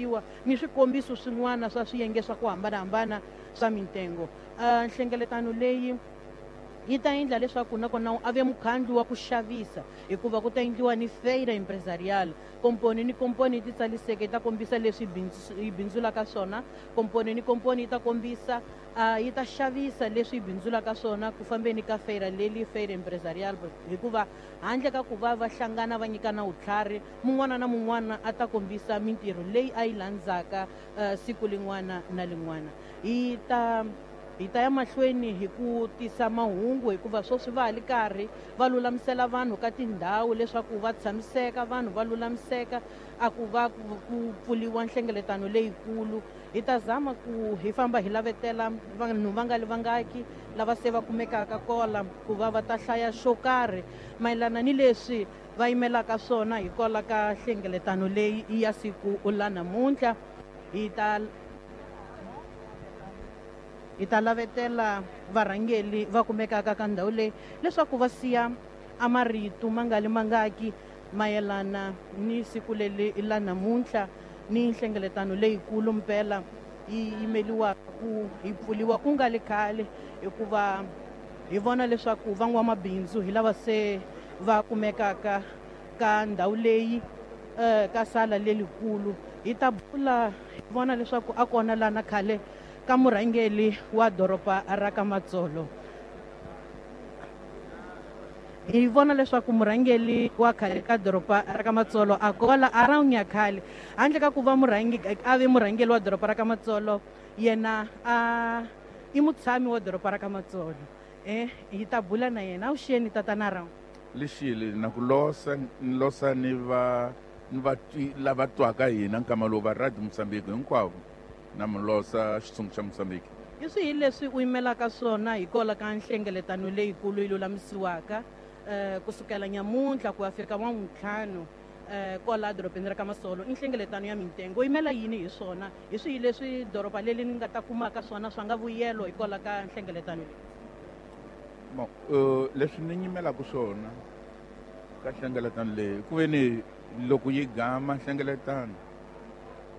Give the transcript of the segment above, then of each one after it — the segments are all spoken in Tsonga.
xavisiwa ni swikombiso swin'wana swa swiyenge swa ku hambanahambana swa mintengo. Nhlengeletano leyi yi ta endla leswaku nakona a ve mukhandlu wa ku xavisa, hikuva ku ta endliwa ni feira empresarial. Komponi ni komponi yi titsariseke yi ta kombisa leswi yi bindzulaka swona. Komponi ni komponi yi ta kombisa, yi ta xavisa leswi yi bindzulaka swona ku fambeni ka feira leli, feira empresarial, hikuva handle ka ku va va hlangana va nyikana vutlhari, mun'wana na mun'wana a ta kombisa mintirho leyi a yi landzaka siku lin'wana na lin'wana. Hi ta ya mahlweni hi ku tisa mahungu, hikuva sweswi va ha li karhi va lulamisela vanhu ka tindhawu leswaku va tshamiseka, vanhu va lulamiseka a ku va ku pfuriwa nhlengeletano leyikulu. Hi ta zama ku hi famba hi lavetela vanhu va nga li vangaki lava se va kumekaka kola ku va va ta hlaya xo karhi mayelana ni leswi va yimelaka swona hi kola ka nhlengeletano leyi ya siku la namuntlha. Hi ta lavetela varhangeli va kumekaka ka ndhawu leyi leswaku va siya a marito ma nga li mangaki mayelana ni siku leri la namuntlha ni nhlengeletano leyikulu mpela yi yimeliwa ku hi pfuliwa ku nga li khale, hikuva hi vona leswaku van'wamabindzu hi lava se va kumekaka ka ndhawu leyi, ka sala lelikulu. Hi ta bula hi vona leswaku a kona lana khale ka murhangeli wa doroba ra ka Matsolo. Hi vona leswaku murhangeli wa khale ka doroba ra ka Matsolo a kola a ra nya khale, handle ka ku va murhangi a ve murhangeli wa doroba ra ka Matsolo, yena a i mutshami wa doroba ra ka Matsolo. Hi ta bula na yena. Avuxeni, tatana Rawu. Lexili na ku losa, ni losa ni va ni va twi lava twaka hina nkama lowu va Radio Mozambique hinkwavo, na mi losa xitshungu xa Mozambique. Hi swihi leswi u yimelaka swona hi kola ka nhlengeletano leyikulu yi lulamisiwaka kusukela nyamuntlha ku ya fika N'wan'wuntlhanu kola dorobeni ra ka Masolo, i nhlengeletano ya mintengo? U yimela yini hi swona? Hi swihi leswi doroba leri ni nga ta kumaka swona swa nga vuyelo hi kola ka nhlengeletano leyi? Bon, leswi ni nyimelaka swona ka nhlengeletano leyi, ku ve ni loko yi gama nhlengeletano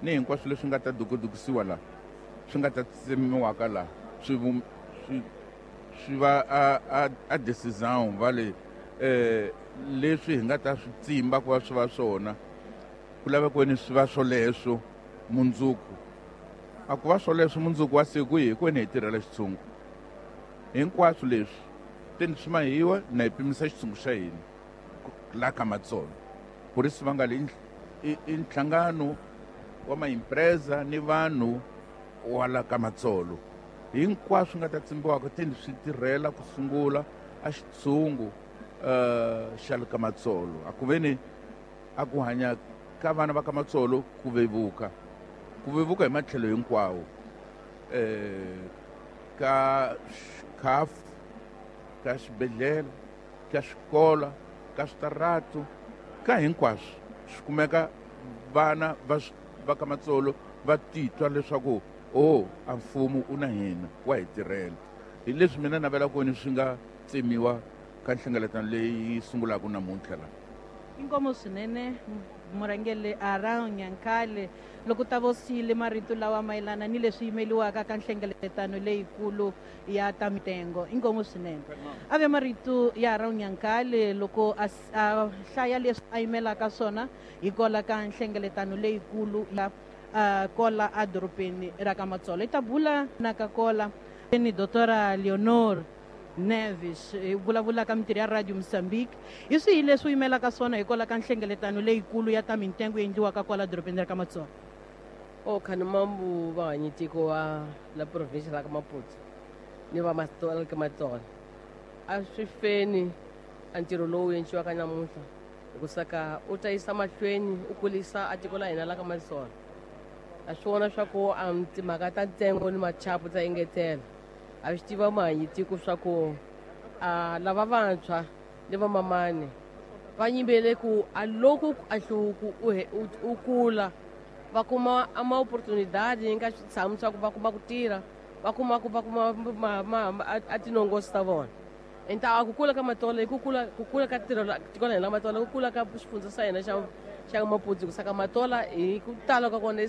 ni hinkwaswo leswi nga ta dukudukisiwa laha, swi nga ta tsemiwaka laha, swi va a decision va le leswi hi nga ta swi tsimba ku va swi va swona, ku laveka ni swi va swoleswo mundzuku. A ku va swoleswo mundzuku wa siku hi kwene hi tirhela xitshungu. Hinkwaswo leswi teni swi mahiwa na hi pimisa xitshungu xa hina la ka Matsolo, ku ri swi va nga le i nhlangano wa maimpreza ni vanhu wa la ka Matsolo. Hinkwaswo nga ta tsimbiwaka teni swi tirhela ku sungula a xitshungu xa le ka Matsolo, a ku ve ni a ku hanya ka vana va ka Matsolo ku vevuka, ku vevuka hi matlhelo hinkwawo, ka khafu, ka xibedhlele, ka xikola, ka switaratu, ka hinkwaswo swi kumeka vana va ka Matsolo va titwa leswaku o a mfumo u na hina, wa hi tirhela. Hi leswi mina navelaka ni swi nga tsemiwa ka nhlengeletano leyi sungulaka namuntlha la. Inkomo swinene, murhangeri Aran Nyankale, loko ta vo siyile marito lawa mayelana ni leswi yimeliwaka ka nhlengeletano leyikulu ya ta mitengo. Inkomo swinene. A ve marito ya Aran Nyankale loko a hlaya leswi a yimelaka swona hi kola ka nhlengeletano leyikulu ya kola edorobeni ra ka Matsolo. Hi ta bula na ka kola ni Doctora Leonor Neves, hi vulavula ka mintirho ya Radio Mozambique. Hi swihi leswi u yimelaka swona hi kwala ka nhlengeletano leyikulu ya ta mintengo yi endliwaka kwala dorobeni ra ka Matsolo? O khanimambu vahanyitiko wa la provinsia la ka Maputo ni va Matsolo ka Matsolo, a swi feni a ntirho lowu endliwaka namuntlha, hikusa ka u ta yisa mahlweni u kulisa a tiko la hina la ka Matsolo. A swi vona swa ku a timhaka ta ntsengo ni machapu ta engetela. A swi tiva mahanyitiko swa ku a lava vantshwa ni vamamani va nyimbele ku a loko a hluvuko u kula, va kuma a ma-oportunidade nga switshamu swa ku va kuma ku tirha, va kuma ku va kuma a tinongosi ta vona. Enta a ku kula ka Matola i ku kula ka tiro tiko la hina la Matola, ku kula ka xifundza xa hina xa Maputo, ku saka Matola hi ku tala ka kona i